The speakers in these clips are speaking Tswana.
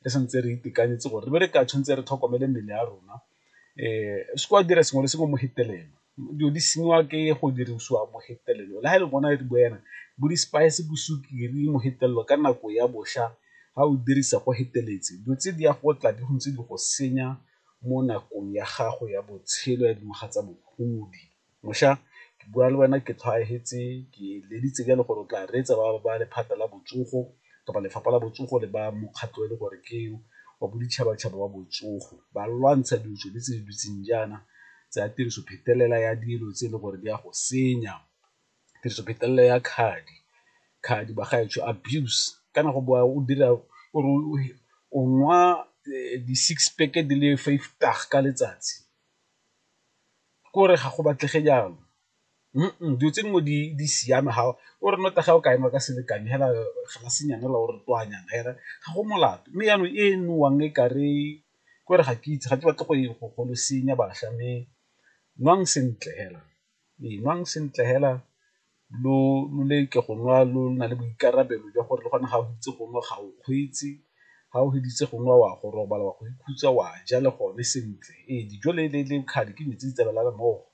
Re santse re itekanetse gore re be re ka tshwanetse re tlhokomele mmele ya rona, o seke wa dira sengwe le sengwe mo hetelelo, dilo di senyiwa ke go dirisiwa mo hetelelo le ga e le bona re bua jaana bo di-spice, bo sukiri mogetelelo ka nako ya bošwa ga o dirisa go feteletse dilo tse di ya go tla di ntse di go senya mo nakong ya gago ya botshelo ya dingwaga tsa bogodi. Mošwa ke bua le wena ke tlhoafetse ke eleditse jalo gore o tla reetsa ba lephata la botsogo kapa lefapha la botsogo le ba mokgatlho e le gore ke wa boditšhabatšhaba wa botsogo, ba lwantsha dilo tsone tse di dutseng jaana tsa tiriso phetelela ya dilo tse e leng gore di a go senya, tiriso phetelela ya khadi, khadi bagaetsho abuse kana go boa o dira o re o nwa di-six pack di le vyftig ka letsatsi, kore ga go batlege jalo dilo tse dingwe di siame ga o re nnotagi ga o ka enwa ka selekano fela galasenyana fela o re twanyana fela ga go molato, mme jaanong e nowang e kare ke gore ga ke itse ga ke batle go le senya bašwa mme nwang sentle fela, ee nwang sentle fela lo leke go nwa lo na le boikarabelo jwa gore le gone ga o itse go nwa ga o kgweetse, ga o feditse go nwa o a go robala o a go ikhutsa o a ja le gone sentle. Ee, dijo le khadi ke dilo tse di tsamaelanang mmogo,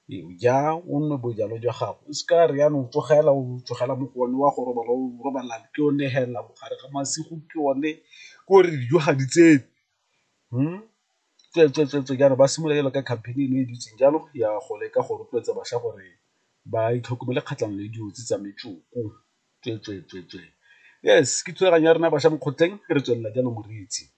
ee o ja o nwe bojalwa jwa gago o seka re jaanong tsogela o tsogela mo go one o a go robala o robala ke one fela mogare ga masigo ke one k'ore dijo ga di tsene. Tsweetswe jaanong ba simolola jalo ka campaign eno e dutseng jalo ya go leka go rotloetsa bašwa gore ba itlhokomele kgatlhanong le dilo tse tsa metsoko tsweetswe-tsweetswe. Yes, ke thulaganyo ya rona bašwa mo kgotleng re tswelela jalo moreetsi.